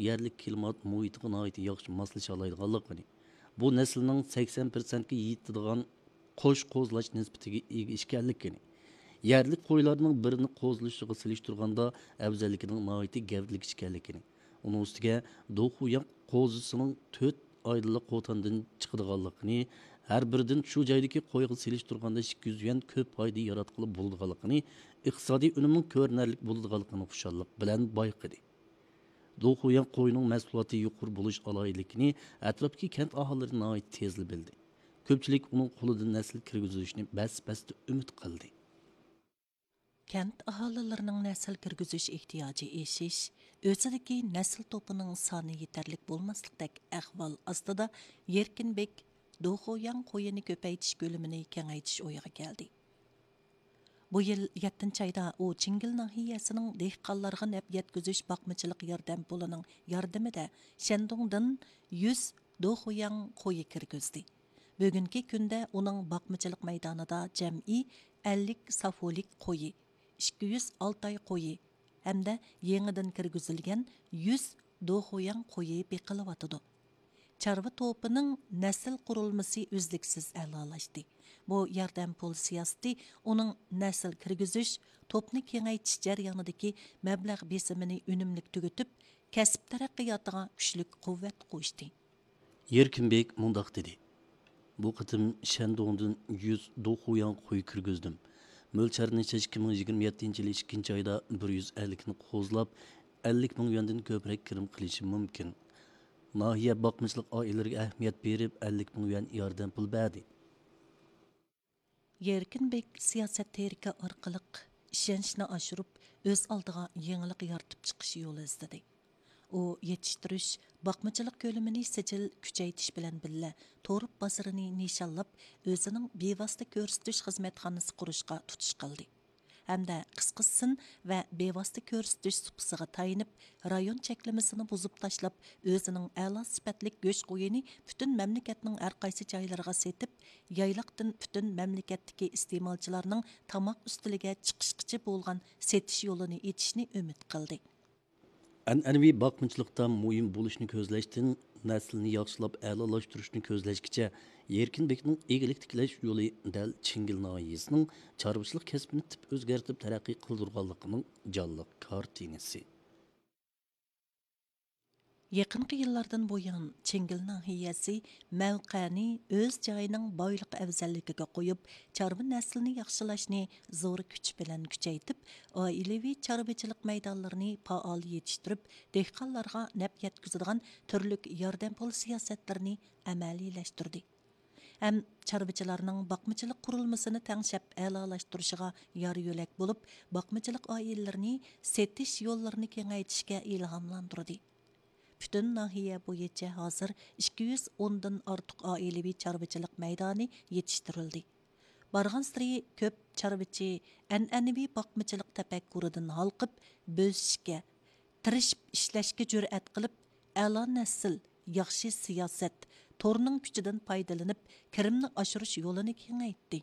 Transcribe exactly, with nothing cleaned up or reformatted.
يەرلىك كىلىمات مۇھىتىغا ناھايىتى ياخشى ماسلىشالايدىغانلىقىنى، بۇ نەسىلنىڭ سەكسەن پىرسەنتكە يېتىدىغان قوش قوزىلاش نىسبىتىگە ئىگە ئىكەنلىكىنى، يەرلىك قويلارنىڭ بىرىنى قوزىلىشىغا سېلىشتۇرغاندا ئەۋزەللىكىنىڭ ناھايىتى گەۋدىلىك ئىكەنلىكىنى، ئۇنىڭ ئۈستىگە دۇخۇياڭ قوزىسىنىڭ تۆت ئايدىلا قوتاندىن چىقىدىغانلىقىنى، ھەر بىرىدىن شۇ جايدىكى قويغا سېلىشتۇرغاندا ئىككى يۈز يۈەن كۆپ پايدا ياراتقىلى بولىدىغانلىقىنى، ئىقتىسادىي ئۈنۈمنىڭ كۆرۈنەرلىك بولىدىغانلىقىنى خۇشاللىق بىلەن بايقىدى. دۇخۇياڭ قويىنىڭ مەھسۇلاتى يۇقىرى بولۇش ئالاھىدىلىكىنى ئەتراپتىكى كەنت ئاھالىلىرى ناھايىتى تېزلا بىلدى. كۆپچىلىك ئۇنىڭ قولىدىن نەسىل كىرگۈزۈلۈشىنى بەس-بەستە ئۈمىد قىلدى. كەنت ئاھالىلىرىنىڭ نەسىل كىرگۈزۈش ئېھتىياجى ئېشىش، ئۆزىدىكى نەسىل توپىنىڭ سانى يېتەرلىك بولماسلىقتەك ئەھۋال ئاستىدا، يەركىن بېك دۇخۇياڭ قويىنى كۆپەيتىش كۆلىمىنى كېڭەيتىش ئويىغا كەلدى. بۇ يىل يەتتىنچى ئايدا ئۇ چىڭگىل ناھىيەسىنىڭ دېھقانلارغا نەپ يەتكۈزۈش باقمىچىلىق ياردەم پۇلىنىڭ ياردىمىدە شەندۇڭدىن يۈز دۇخۇياڭ قويى كىرگۈزدى. بۈگۈنكى كۈندە ئۇنىڭ باقمىچىلىق مەيدانىدا جەمئىي ئەللىك سافولىك قويى، ئىككى يۈز ئالتاي قويى ھەمدە يېڭىدىن كىرگۈزۈلگەن يۈز دۇخۇياڭ قويى بېقىلىۋاتىدۇ. چارۋا توپىنىڭ نەسىل قۇرۇلمىسى ئۈزلۈكسىز ئەلالاشتى. بۇ ياردەم پۇل سىياسىتى ئۇنىڭ نەسىل كىرگۈزۈش، توپنى كېڭەيتىش جەريانىدىكى مەبلەغ بېسىمىنى ئۈنۈملۈك تۈگىتىپ، كەسىپ تەرەققىياتىغا كۈچلۈك قۇۋۋەت قوشتى. يېركىنبېك مۇنداق دېدى: بۇ قېتىم شەندۇڭدىن يۈز دۇخۇياڭ قوي كىرگۈزدۈم. مۆلچەرنى ئىككى مىڭ يىگىرمە يەتتىنچى يىلى ئىككىنچى ئايدا بىر يۈز ئەللىكنى قوزلاپ، ئەللىك مىڭ يۈەندىن كۆپرەك كىرىم قىلىشىم مۇمكىن. ناھىيە باقمىچىلىق ئائىلىلىرىگە ئەھمىيەت بېرىپ، ئەللىك مىڭ يۈەن ياردەم پۇل بەردى. يەركىن بېك سىياسەت تېرىكى ئارقىلىق ئىشەنچنى ئاشۇرۇپ، ئۆز ئالدىغا يېڭىلىق يارىتىپ چىقىش يولى ئىزدىدى. ئۇ يېتىشتۈرۈش، باقمىچىلىق كۆلىمىنى سىجىل كۈچەيتىش بىلەن بىللە، تورۇپ بازىرىنى نىشانلاپ، ئۆزىنىڭ بىۋاسىتە كۆرسىتىش خىزمەتخانىسى قۇرۇشقا تۇتۇش قىلدى. ھەمدە قىسقا سىن ۋە بىۋاسىتە كۆرسىتىش سۇپىسىغا تايىنىپ، رايون چەكلىمىسىنى بۇزۇپ تاشلاپ، ئۆزىنىڭ ئەلا سۈپەتلىك گۆش قويىنى پۈتۈن مەملىكەتنىڭ ھەر قايسى جايلىرىغا سېتىپ، يايلاقتىن پۈتۈن مەملىكەتتىكى ئىستېمالچىلارنىڭ تاماق ئۈستىلىگە چىقىشقىچە بولغان سېتىش يولىنى ئېچىشنى ئۈمىد قىلدى. ئەنئەنىۋى باقمىچىلىقتا مۇھىم بولۇشنى كۆزلەشتىن، نەسىلنى ياخشىلاپ ئەلالاشتۇرۇشنى كۆزلەشكىچە، يەركىن بېكنىڭ ئىگىلىك تىكلەش يولى دەل چىڭگىل ناھىيەسىنىڭ چارۋىچىلىق كەسپىنى تىپ ئۆزگەرتىپ تەرەققىي قىلدۇرغانلىقىنىڭ جانلىق كارتىنىسى. يېقىنقى يىللاردىن بۇيان، چىڭگىل ناھىيەسى مەۋقەنى ئۆز جايىنىڭ بايلىقى ئەۋزەللىكىگە قويۇپ، چارۋا نەسلىنى ياخشىلاشنى زور كۈچ بىلەن كۈچەيتىپ، ئائىلىۋى چارۋىچىلىق مەيدانلىرىنى پائال يېتىشتۈرۈپ، دېھقانلارغا نەپ يەتكۈزىدىغان تۈرلۈك ياردەم پۇل سىياسەتلىرىنى ئەمەلىيلەشتۈردى. ھەم چارۋىچىلارنىڭ باقمىچىلىق قۇرۇلمىسىنى تەڭشەپ ئەلالاشتۇرۇشىغا يار يۆلەك بولۇپ، باقمىچىلىق ئائىلىلىرىنى سېتىش يوللىرىنى كېڭەيتىشكە ئىلھاملاندۇردى. پۈتۈن ناھىيە بويىچە ھازىر ئىككى يۈز ئوندىن ئارتۇق ئائىلىۋى چارۋىچىلىق مەيدانى يېتىشتۈرۈلدى. بارغانسېرى كۆپ چارۋىچى ئەنئەنىۋى باقمىچىلىق تەپەككۇرىدىن ھالقىپ، بۆسۈشكە، تىرىشىپ ئىشلەشكە جۈرئەت قىلىپ، ئەلا نەسىل، ياخشى سىياسەت، تورنىڭ كۈچىدىن پايدىلىنىپ، كىرىمنى ئاشۇرۇش يولىنى كېڭەيتتى.